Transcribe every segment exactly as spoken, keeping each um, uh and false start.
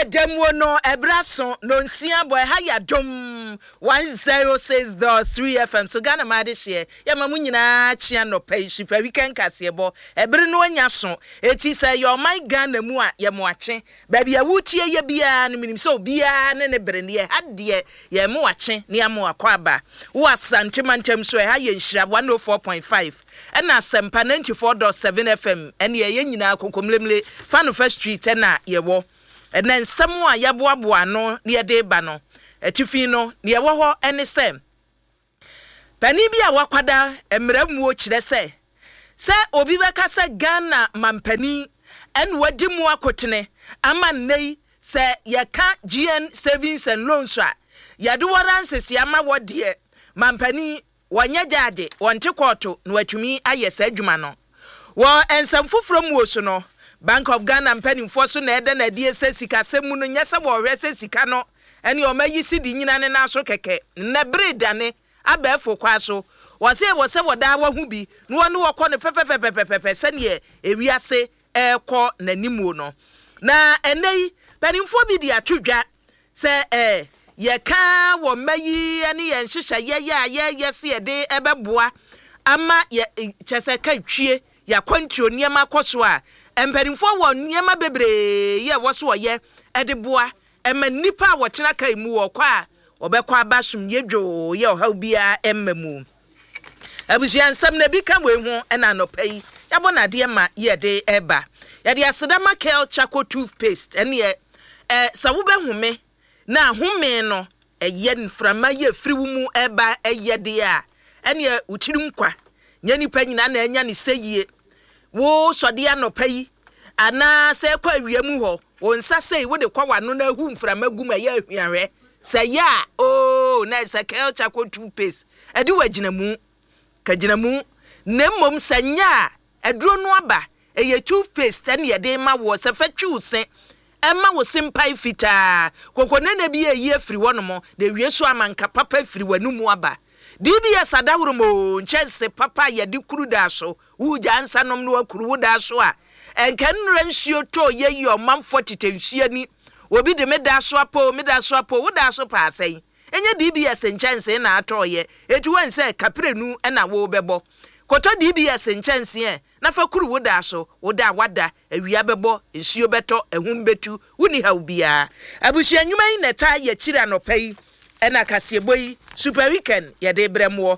Yɛ da muo no, ɛberɛ so nonsia bɔ. Ɛha yɛ Adom one zero six point three F M so. Ghana ma adehyeɛ yɛma mo nyinaa kyea nnɔpa yi. Super Weekend kaseɛbɔ ɛbere no anya so, eti sɛ yɛ ɔman Ghana mu a, yɛ mo akye. Baabi a wotie yɛ biara no, menim sɛ obiara ne ne bere ne yɛ ha deɛ, yɛ mo akye ne yɛ mo akɔ aba. Wo Asante mantam so, ɛha yɛ Nhyira one oh four point five ɛna Asɛmpa ninety-four point seven F M. Ɛne ɛyɛ nyinaa Kokomlemle Fanofa Street ɛna yɛwɔ. Ɛnɛ nsɛm a yɛboaboa ano na yɛde ba no, atifi no nea ɛwɔ hɔ ɛne sɛ panin bi a wakwada mmerɛ muo kyerɛ sɛ sɛ obi bɛka sɛ Ghana mampanin ɛna wadi mu akotene ama nnɛ yi sɛ yɛka G N Savings and Loans a, yɛde wɔra nsesi ama wɔ deɛ mampanin wɔnyɛ gyaagye, wɔnte kɔɔto na watumi ayɛ saa adwuma no. Wɔ nsɛm foforɔ mu so no, Bank of Ghana mpanimfoɔ so na ɛda n'adie sɛ sikasɛm mu no, nyɛ sɛ wɔrehwɛ sɛ sika no ɛne ɔma yi si di nyina ne nan so kɛkɛ. Nnɛ bere dane abɛɛfo kwa so, wɔsɛ wɔ sɛ wɔdaa wɔ ho bi na wɔne wɔkɔ no pɛpɛpɛpɛpɛpɛ sɛneɛ ewiase ɛrekɔ n'animuo no. Na ɛnɛ yi mpanimfoɔ bi de ato dwa sɛ ɛɛ yɛka wɔ mma yi ne yɛn nhyehyɛeɛ yɛ a yɛyɛ sɛ yɛde ɛbɛboa ama yɛ kyɛ sɛ ka twie yɛakwantuo nneɛma kɔ so a, mpanimfoɔ wɔ nneɛma bebree yɛ ɛwɔ so wɔyɛ ɛde boa ɛma nnipa a wɔtena kaa mu wɔ kɔ a wɔbɛkɔ aba somdwe dwoo yɛ ɔhaw biara ɛmma mu. Abusua nsɛm na ebi ka wei ho ɛna anɔpa yi yɛabɔ n'adeɛ ma yɛde ɛba. Yɛde asedama Kel Charcoal Toothpaste ɛneɛ ɛ sɛ wobɛhome na ahome no ɛyɛ mframa yɛ firi wo mu ɛba ɛyɛ deɛ a, ɛneɛ wo tiri nkwa nyɛ nipa nyinaa na ɛnya ne sɛ yie. Wo sɔde anɔpa yi anaa sɛ ɛkɔ awia mu hɔ, wo nsa sei wode kɔ w'ano na ahu mframa gu mu, ɛyɛ ahuahwɛ sɛ yɛ a oo, na sɛ Kel Charcoal Toothpaste ɛde wɔ agyinamu ka gyinamu. Na mmom sɛ nyɛ a, aduro no aba, ɛyɛ toothpaste ɛne yɛde ma wɔ sɛ fɛ twi wo se, ɛma wo se mpae fitaa kokonene bi ɛyi afiri hɔnom na ewie so ama nka papa afiri w'anum aba. D B S adaworo mo nkyɛnse papa a yɛde kuru daa so, wugya nsa nom no wakuru wo daa so a, ɛnka nnura nsuo tɔ yɛ yi ɔmanfoɔ tete nsuo ani. Obi de me da so apo, me da so apo, wo da so paa sɛn? Ɛnyɛ D B S nkyɛnse na atɔɔyɛ eti wɔn sɛ kaprenu ɛna wo bɛbɔ kɔtɔ D B S nkyɛnse ɛ na fa kuru wo da so. Wo da wada, awia bɛbɔ, nsuo bɛtɔ, ɛhum bɛtu, wonni haw biara. Abusua nnwuma yi na ɛtaa yɛ kyiri anɔpa yi ɛna kaseɛbɔ yi, Super Weekend, yɛde brɛ moɔ.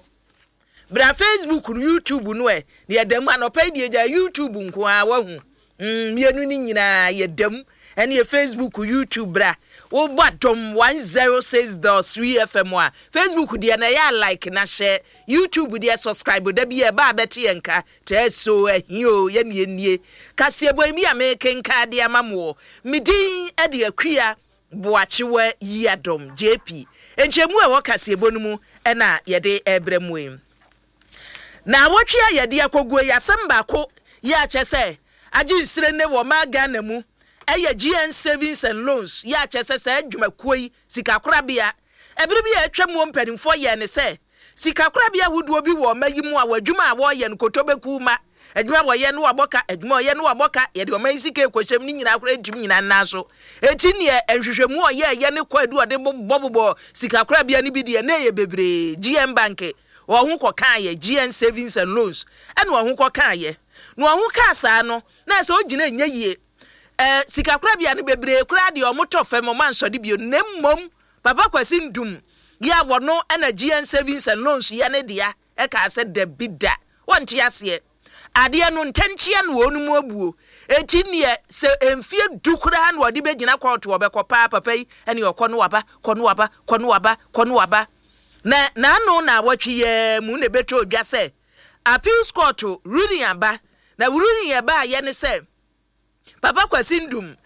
Bra Facebook no, YouTube no ɛ na yɛda mu anɔpa yi deɛ, gya YouTube nko ara wahu mmienu no nyinaa yɛda mu. Ɛne yɛ Facebook, YouTube. Bra wobɔ Adom one zero six point three F M a, Facebook deɛ na ɛyɛ a like na hyɛ, YouTube deɛ subscribe. Da bi ɛba a bɛte yɛn nka kyerɛ so ahi o. Yɛne nie kaseɛbɔ yi bi a mekenka de ama mo. Me din de Akua Boakyewa Yi Adom J P. Nkyɛmu a ɛwɔ kaseɛbɔ no mu ɛna yɛde ɛbrɛ mu yi. Na awɔtwe a yɛde akɔguo yi, asɛm baako yɛ akyɛ sɛ agye nsire ne wɔ maa Ghana mu ɛyɛ G N Savings and Loans. Yɛ akyɛ sɛ saa adwumakuo yi sikakorabea, ɛbere bi a atwa mu, mpanimfoɔ yɛ ne sɛ sikakorabea ahodoɔ bi wɔ ɔma yi mu a wɔ adwuma a wɔreyɛ no koto bɛku ma adwuma wɔyɛ no wabɔ ka, adwuma ɔyɛ no wabɔ ka, yɛde ɔma yi sika ekɔhyɛm ne nyinaa koraa ntumi nyinaa nan so. Eti neɛ nhwehwɛmu ɔyɛ ɛyɛ ne kɔ adu ɔde bɔbɔbɔ sikakorabea no bi deɛ na ɛyɛ bebree. G N Bank wɔn ho kɔkaa yɛ G N Savings and Loans ɛna wɔn ho kɔkaa yɛ na wɔn ho kaa saa no na ɛsɛ ogyina nyɛ yie. Ɛɛ sikakorabea no bebree koraa deɛ, wɔn tɔ fam, wɔn ansɔde bio. Na mmom Papa Kwasi Ndum yɛ a wɔno ɛna G N Savings and Loans yɛ ne dea ɛkaa sɛ dabi da, wɔnte aseɛ adeɛ no ntɛnkyea no wɔn mu abuo. Eti neɛ sɛ mfie du koraa na wɔde bɛgyina kɔɔto, wɔbɛkɔ paa. Papa yi ɛne ɔkɔ no waba, kɔ no waba, kɔ no waba, kɔ no waba. Na n'ano na awɔtwe yɛɛ mu na ebɛtɔ odwa sɛ appeals court ruling aba. Na ruling ɛba ayɛ ne sɛ Papa Kwasi Ndum,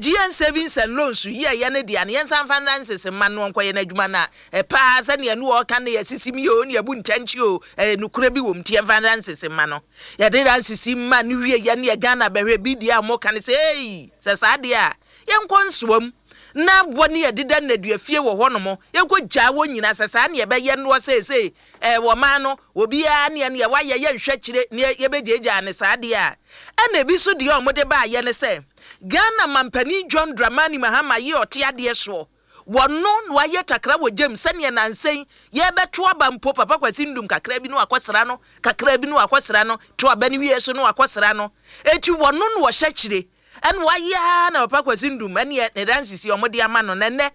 G N Savings and Loans yi a ɛyɛ ne deɛ no, yɛnsa mfa nnansese mma no ɔnkɔyɛ n'adwuma no a ɛpaa sɛnea no ɔka no yɛsisi mi o ne yɛbu nkyɛnkye o, ɛyɛ nokora bi wɔ mu nti yɛmfa nnansese mma no. Yɛde nansese mma no wie yɛ ne yɛ Ghana bɛhwɛ bi deɛ a wɔka no sɛ ei, sɛ saa deɛ a yɛnkɔ nsoam na bɔ ne yɛdeda nnadua fie wɔ hɔnom, yɛnkɔ gyaa wɔ nyinaa sɛ saa ne yɛbɛyɛ noɔ seesei ɛɛ wɔ man no obiara neɛ neɛ wayɛ yɛnhwɛ kyerɛ ne yɛbɛgyaagyaa ne saa deɛ a. Ɛna ebi nso deɛ a wɔde baayɛ ne sɛ Ghana mampanin John Dramani Mahama yi ɔte adeɛ soɔ, wɔno na wayɛ takra wɔ gyam sɛneɛ nansa yi yɛbɛto aba mpo Papa Kwasi Ndum kakra bi no akɔsra no, kakra bi no akɔsra no, to aba no wie so no akɔsra no. Eti wɔno na wɔhyɛ kyire ɛna wayɛ na Papa Kwasi Ndum ɛneɛ ne dansisi ɔmo de ama no. Nɛnɛ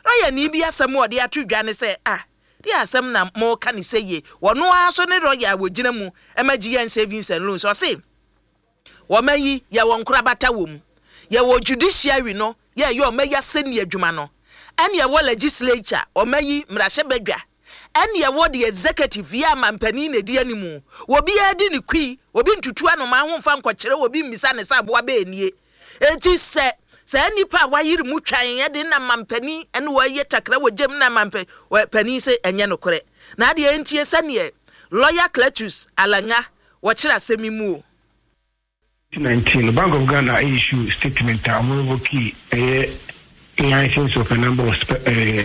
lɔya ni bi asɛm a ɔde ato dwa ne sɛ, ah, deɛ asɛm na mo ka ne sɛ yie, wɔno ara so ne lɔya a wɔgyina mu ɛma G N Savings and Loans. Ɔse wɔma yi yɛwɔ nkorabata wɔ mu, yɛwɔ judiciary no, yɛyɛ ɔma yi asɛnni adwuma no, ɛne ɛwɔ legislature, ɔma yi mmarahyɛbadwa, ɛne ɛwɔ the executive yɛ amampanin na edi animu. Obiara di ne kui, obi ntutu anoma ho mfa nkɔkyerɛ obi mmisa ne sɛ aboa bɛɛ nie. Eti sɛ saa nipa a wayere mu twan ɛde na mampanin ɛne wɔyɛ takra wɔ gyam na mampanin sɛ ɛnyɛ nokorɛ na adeɛ ntie sɛneɛ Lawyer Cletus Alanga wɔkyerɛ asɛm yi mu o. twenty nineteen, Bank of Ghana issue statement a wɔn revoke ɛyɛ license of a number of uh,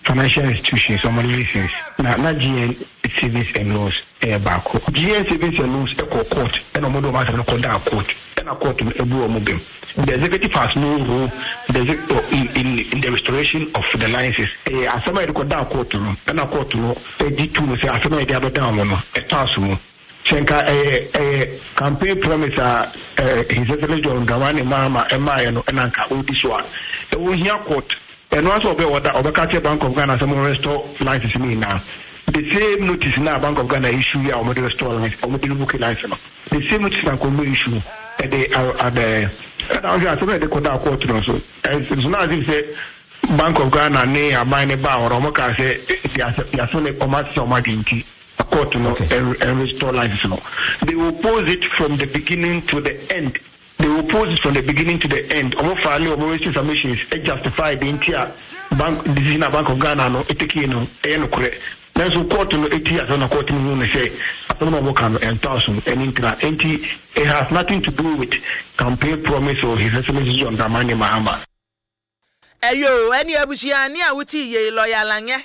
financial institutions wɔn license, na na G N Savings and Loans ɛyɛ baako. G N Savings and Loans ɛkɔ court, ɛna wɔn de wɔn asɛm no kɔ down court, ɛna court no ebu wɔn bɛm. The executive has no role the in, in, in the restoration of the licenses. Ɛyɛ asɛm a yɛde kɔ down court no, ɛna court no ɛdi tu no sɛ asɛm a yɛde abɛdan wɔn no ɛtɔ aso mu. Sɛ nka ɛyɛ ɛyɛ campaign promise a ɛɛ His Excellency John Dramani Mahama ɛmaayɛ no, ɛna nka ɔdi so a ɛwɔ hia court ɛno asɛ ɔbɛ ɔda ɔbɛka kyerɛ Bank of Ghana sɛ mo restore license ne nyinaa. The same notice na Bank of Ghana issue yi a wɔde restore license, wɔde revoke license no, the same notice na nkɔmɔ issue ɛde adɛ. Ɛna ɔhwɛ asɛm a yɛde kɔ da court no so ɛnso na ase sɛ Bank of Ghana ne aban ne ba hɔ no, wɔn kaa sɛ yasɛ ne wɔn asesa wɔn adwene nti court no okay. and, and restore license no. They oppose it from the beginning to the end. They oppose it from the beginning to the end. Ɔmo file ɔmo written submissions ɛ justify the entire bank decision a Bank of Ghana no ɛ take no ɛyɛ nokorɛ. Nanso court no eti asɛm na court no hu no sɛ asɛm na ɔmo ka no ɛntɔ asom ɛne ntina. Nti it has nothing to do with campaign promise or His Excellency John Dramani Mahama. Ɛyo, ɛne abusuani a wotii yei, lɔya Alanyɛ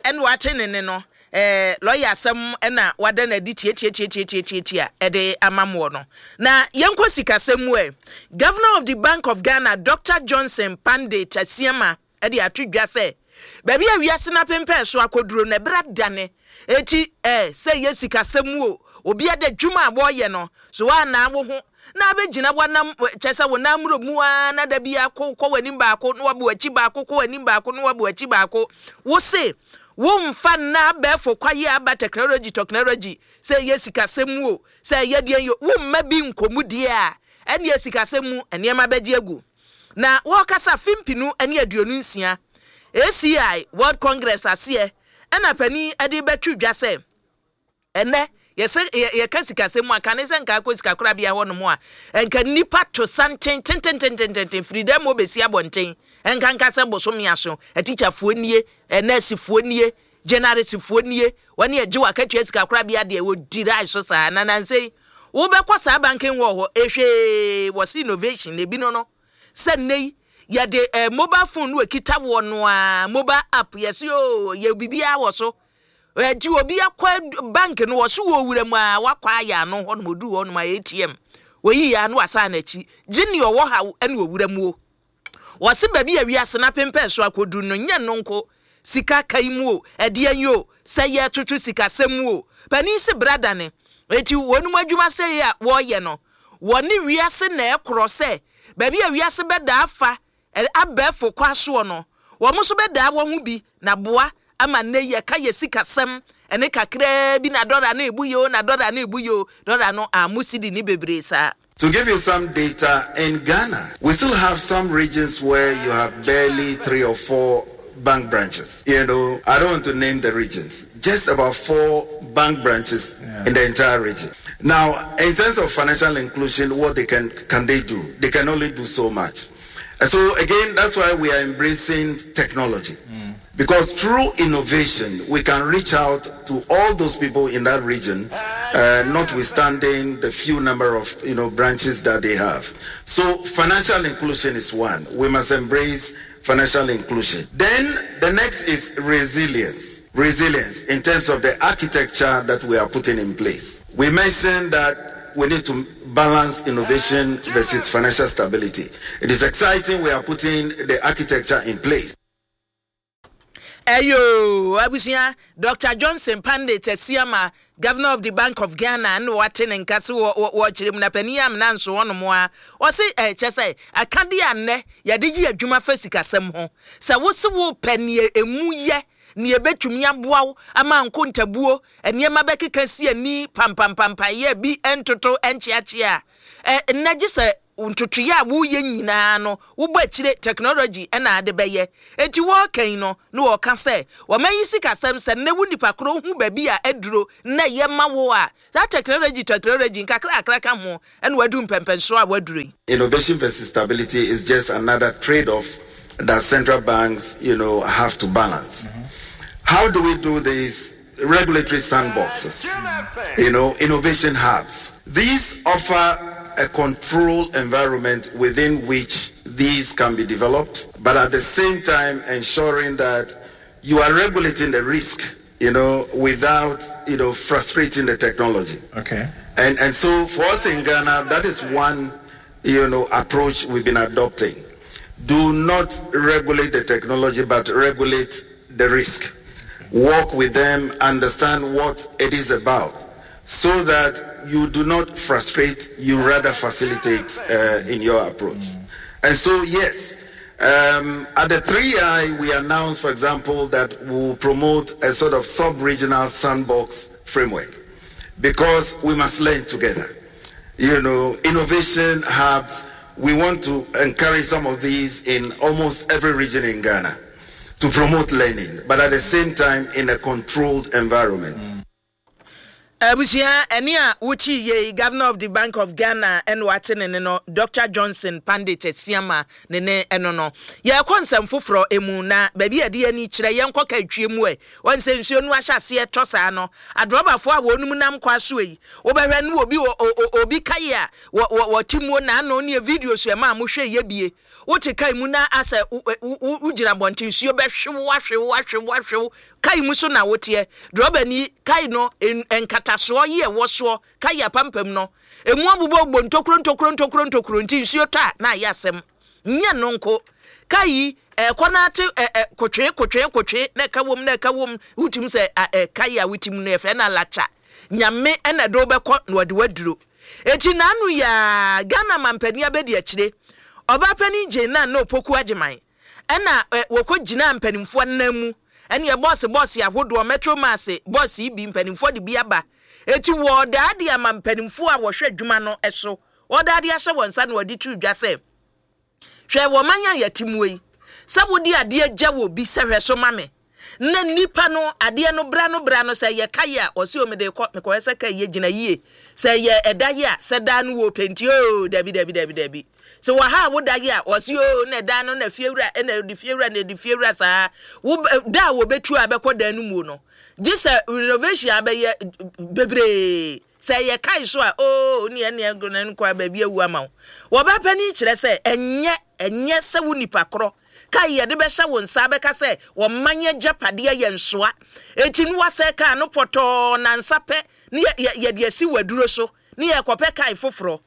ɛne wate ne ne no ɛɛ lɔya asɛm ɛna wada n'adi tietietietietietie a ɛde ama moɔ no. Na yɛnkɔ sikasɛm mu ɛ. Governor of the Bank of Ghana, Doctor Johnson Pande Tasiama, ɛde ato dwa sɛ baabi a wiase no apempɛn so akɔduro no, ɛberɛ dane. Eti ɛɛ sɛ yɛ sikasɛm mu o, obi ada dwuma a wɔreyɛ no so wɔanaa wo ho na abɛgyina wanam kyɛ sɛ wo nan mmuro mu ara na da bi akɔ kɔ w'anim baako na wabɔ akyi baako, kɔ w'anim baako na wabɔ akyi baako. Wo se womfa nna abɛɛfo kwaye aba technology technology sɛ ɛyɛ sikasɛm mu o, sɛ ɛyɛ deɛ yɛ womma bi nkɔmu deɛ a, ɛne sikasɛm mu nneɛma bɛgye agu. Na wɔrekasa fimpinu ne aduonu nsia A C I World Congress aseɛ, ɛna panin de bɛtwi dwa sɛ ɛnɛ yɛsɛ yɛka sikasɛm mu a, kane sɛ nka akɔ sikakorabea hɔ nom a, nka nnipa to santen tententententen firi dɛm ma obɛsi abɔnten, ɛnka nka sɛ bosome aso, atikyafoɔ nie, nɛɛsefoɔ nie, generalsfoɔ nie, wɔne agye wɔ akatua sikakorabea deɛ wɔdi rai so saa. Na nansɛ wobɛkɔ saa banking hall hɔ ehwee, wɔsi innovation ebi no no sɛ nnɛ yi yɛde eh, mobile phone no ekita wɔ no a, mobile app yɛsi o, yɛ biribiara wɔ so. Ɛti obi akɔ bank no, wɔso wɔ wura mu a, wakɔ ayɛ ano hɔ nom, oduru hɔ nom a, A T M oyi ya no wasan n'akyi gye nea ɔwɔ ha ɛne owura mu o. Wɔsi baabi a wiase na pempɛn so akɔduru no, nyɛ no nko sika kai mu o, ɛdeɛ yi o, sɛ yɛtoto sikasɛm mu o, panin si brada ne eti wɔn mu adwuma sɛ yi a wɔreyɛ no, wɔne wiase na ɛkorɔ sɛ baabi a wiase bɛda afa abɛɛfo kɔ asoɔ no, wɔn nso bɛdaa wɔn ho bi na boa ama nne yɛka yɛ sikasɛm ɛne kakraa bi na dɔla no ebu yio, na dɔla no ebu yio, dɔla no amu sidi ne bebree saa. To give you some data, in Ghana, we still have some regions where you have barely three or four bank branches. You know, I don't want to name the regions. Just about four bank branches yeah. in the entire region. Now, in terms of financial inclusion, what they can can they do? They can only do so much. And so again, that's why we are embracing technology. Mm. Because through innovation, we can reach out to all those people in that region, uh, notwithstanding the few number of you know branches that they have. So financial inclusion is one. We must embrace financial inclusion. Then the next is resilience. Resilience in terms of the architecture that we are putting in place. We mentioned that we need to balance innovation versus financial stability. It is exciting we are putting the architecture in place. Ɛyoo abusua, Doctor Johnson Pandit Asiama, Governor of the Bank of Ghana na wate ne nka se wɔ wɔ wɔkyerɛ mu na panin amena nso hɔnom a ɔse ɛ kyɛ sɛ akadeɛ a nnɛ yɛde yɛ adwuma fa sikasɛm ho sɛ wose wopɛ neɛ emu yɛ nea ebetumi aboa wo ama nkontabuo nneɛma bɛkeka si ani pampampampayɛ bi ntoto nkyeakyea a ɛ nnɛ gye sɛ ntotoeɛ a woreyɛ nyinaa no wobɔ akyire technology na ade bɛyɛ. Enti wɔreka yi no na wɔreka sɛ wɔma yi sikasɛm sɛ nnɛ wo nipa korɔ wohu baabi a aduro na ɛyɛ ma wo a saa technology technology nkakrakra ka ho na wadu mpɛmpɛnsoɔ a waduro yi. Innovation versus stability is just another trade-off that central banks, you know, have to balance. Mm-hmm. How do we do these regulatory sandboxes, you know, innovation hubs? These offer a controlled environment within which these can be developed, but at the same time ensuring that you are regulating the risk, you know, without, you know, frustrating the technology. Okay. And, and so for us in Ghana, that is one, you know, approach we've been adopting. Do not regulate the technology, but regulate the risk. Work with them, understand what it is about, so that you do not frustrate, you rather facilitate uh, in your approach. Mm. And so, yes, um, at the three I, we announced, for example, that we'll promote a sort of sub-regional sandbox framework because we must learn together. You know, innovation hubs, we want to encourage some of these in almost every region in Ghana to promote learning, but at the same time in a controlled environment. Mm. Abusua, ɛne a wotie yei, Governor of the Bank of Ghana ɛna wate ne ne no, Doctor Johnson Pandit Asiama ne ne ɛno no. Yɛrekɔ nsɛm foforɔ emu na baabi a yɛde ani kyerɛ yɛnkɔ Kaitwie mu ɛ. Wɔn sɛ nsuo no ahyɛ aseɛ tɔ saa no, adrɔbafoɔ a wɔnom nam kwa so yi, wobɛhwɛ no obi obi kae a wɔte mu na ano ne video so ɛma a mohwɛ yɛ bie. Wote kai mu na asɛ wogyina abɔnten nsuo bɛhwe wo ahwe wo ahwe wo ahwe wo kai mu so na woteɛ. Drɔbani kai no nkatasoɔ yi ɛwɔ soɔ kai apampam no emu abobɔbobɔ ntokuro ntokuro ntokuro ntokuro nti nsuo tɔ a na ayɛ asɛm. Nyɛ no nko kai yi ɛkɔ na ate ɛ ɛ kotwe kotwe kotwe na ɛka wɔm na ɛka wɔm wotim sɛ ɛ kai a wotim no yɛfrɛ no alakya. Nyame ɛna ɛde wobɛkɔ na wɔde waduro. Eti n'ano yaa Ghana mampanin abɛdi akyire Ɔbaapanin Jane Nana Opoku Agyemang ɛna wɔkɔ gyinaa mpanimfoɔ nan mu ɛne bɔɔse bɔɔse ahodoɔ Metro Mass bɔɔse yi bi mpanimfoɔ de bi aba eti wɔɔdaa de ama mpanimfoɔ a wɔhwɛ adwuma no so wɔdaa de ahyɛ wɔn nsa na wɔde too dwa sɛ hwɛ wɔ man a yɛte mu yi sɛ wode adeɛ gya wɔ bi sɛ hwɛ so ma me na nipa no adeɛ no bra no bra no sɛ yɛ kae a ɔse o mede kɔ mekɔhwɛ sɛ kae yɛ gyina yie sɛ yɛ ɛda yɛ a sɛ daa no wɔ penti o dabi dabi dabi dabi sɛ wɔ ha a woda yɛ a ɔse o na ɛdan no na fiewura ɛna ɛde fiewura na ɛde fiewura saa wo da a wɔbɛtu a bɛkɔ dan no mu no gye sɛ renovation abɛyɛ bebree sɛ yɛ kae so a o ne ɛne ɛne kɔ baabi awu ama wo wɔbɛ panin kyerɛ sɛ ɛnyɛ ɛnyɛ sɛ wo nipa korɔ Kae yɛde bɛhyɛ wo nsa bɛka sɛ ɔman agyapadeɛ yɛ nsoa. Enti no wasɛe kaa no pɔtɔɔ nansa pɛ ne yɛde asi w'aduro so ne yɛrekɔpɛ kae foforɔ.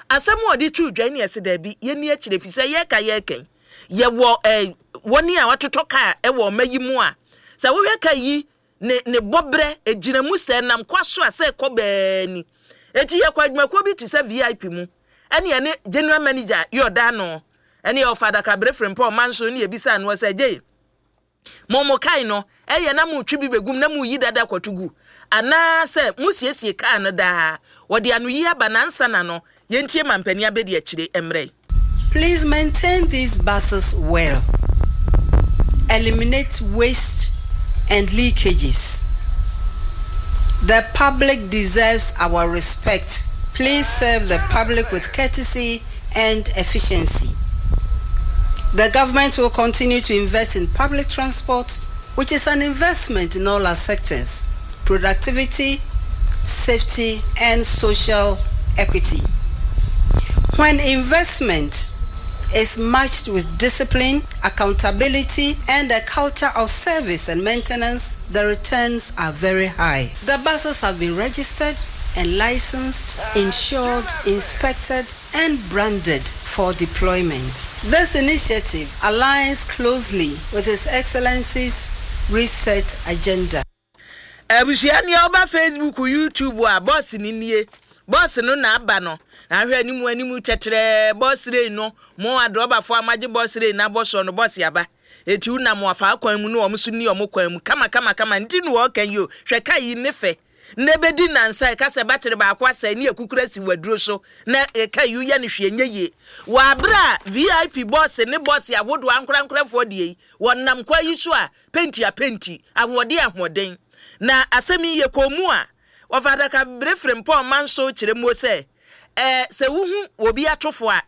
Asɛm a ɔde too dwa yi ne yɛse daabi, yɛnni akyire ɛfiri sɛ yɛreka yɛreka yi, yɛwɔ eh, wɔn a wɔatotɔ kaa wɔ ɔma yi mu a, sɛ wohwɛ kaa yi ne ne bɔberɛ ɛgyina mu sɛ ɛnam kwa so a sɛ ɛkɔ bɛɛ ni. Enti yɛkɔ adwumakuo bi te sɛ V I P mu ɛne yɛne general manager yɛ ɔda ano ɛne ɔfa adakabere frempɔ ɔman so ne yɛbisaa no sɛ gye mo mo kae no ɛyɛ na motwe bi bɛgum na moyi dada kɔto gu anaasɛ mosiesie kaa no daa wɔde ano yi aba nansa na no yɛntie mampanin abɛdi akyire mmerɛ. Please maintain these buses well. Eliminate waste and leakages. The public deserves our respect. Please serve the public with courtesy and efficiency. The government will continue to invest in public transport, which is an investment in all our sectors: productivity, safety, and social equity. When investment is matched with discipline, accountability, and a culture of service and maintenance, the returns are very high. The buses have been registered and licensed, insured, inspected, and branded for deployment. This initiative aligns closely with His Excellency's Reset agenda. Abusua, nea ɔba Facebook, YouTube a, bɔs no nie. Bɔs no na aba no na ahwɛ anim anim kyɛkyerɛɛ. Bɔs rei no mo adrɔbafoɔ a magye bɔs rei na abɔ soɔ no, bɔs aba eti wonam afa kwan mu no, wɔn nso ni wɔn kwan mu kama kama kama. Nti na wɔɔka yi o, hwɛ ka yi ne fɛ na ebedi nansa ɛka sɛ battery baako asɛe ne ekukura si waduro so na ɛka yi yɛ no hwee nye yie. Wɔ abere a V I P bɔs ne bɔs ahodoɔ ankorankorafoɔ deɛ yi wɔnam kwan yi so a, penti a penti, ahoɔden ahoɔden. Na asɛm yi yɛ kɔn mu a wɔfa adaka bere firi mpɔn man so kyerɛ mu sɛ ɛɛ sɛ wohu obi atofo a